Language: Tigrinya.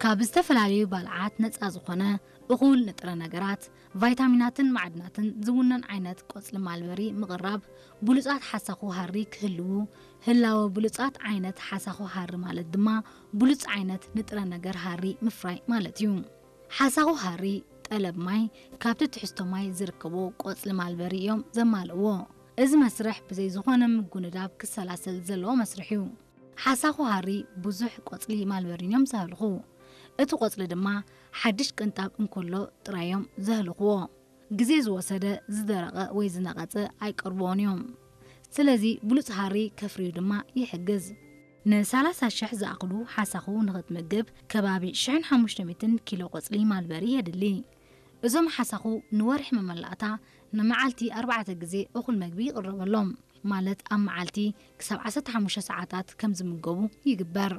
ካብ ዝተፈላለዩ ባልዓት ነፃ ዝኾነ እኹል ንጥረ ነገራት፣ ቫይታሚናትን ማዕድናትን ዝውነን ዓይነት ቆፅሊ ማልበሪ ምቕራብ፣ ብሉፃት ሓሳኹ ሃሪ ክህልዉ፣ ህላወ ብሉፃት ዓይነት ሓሳኹ ሃሪ ማለት ድማ ብሉፅ ዓይነት ንጥረ ነገር ሃሪ ምፍራይ ማለት እዩ። ሓሳኹ ሃሪ ጠለብ ማይ ካብቲ ትሕዝቶ ማይ ዝርከቦ ቆፅሊ ማልበሪ እዮም ዘማልእዎ። እዚ መስርሕ ብዘይ ዝኾነ ምጉንዳብ ክሰላሰል ዘለዎ መስርሕ እዩ። ሓሳኹ ሃሪ ብዙሕ ቆፅሊ ማልበሪን እዮም ዘህልኹ። እቲ ቆፅሊ ድማ ሓድሽ ቅንጣብ እንከሎ ጥራይ እዮም ዘህልኽዎ። ግዜ ዝወሰደ፣ ዝደረቐ ወይ ዝነቐጸ ኣይቀርብዎን እዮም። ስለዚ ብሉፅ ሃሪ ከፍርዩ ድማ ይሕግዝ። ን30 ሽሕ ዝኣኽሉ ሓሳኹ ንኽትምግብ ከባቢ ሽሕን ሓሙሽተ ሚእትን ኪሎ ቆፅሊ ማልበሪ የድሊ። እዞም ሓሳኹ ንወርሒ መመላእታ ንመዓልቲ ኣርባዕተ ግዜ እኹል መግቢ ይቕረበሎም፣ ማለት ኣብ መዓልቲ ክሳብ ዓሰርተ ሓሙሽተ ሰዓታት ከም ዝምገቡ ይግበር።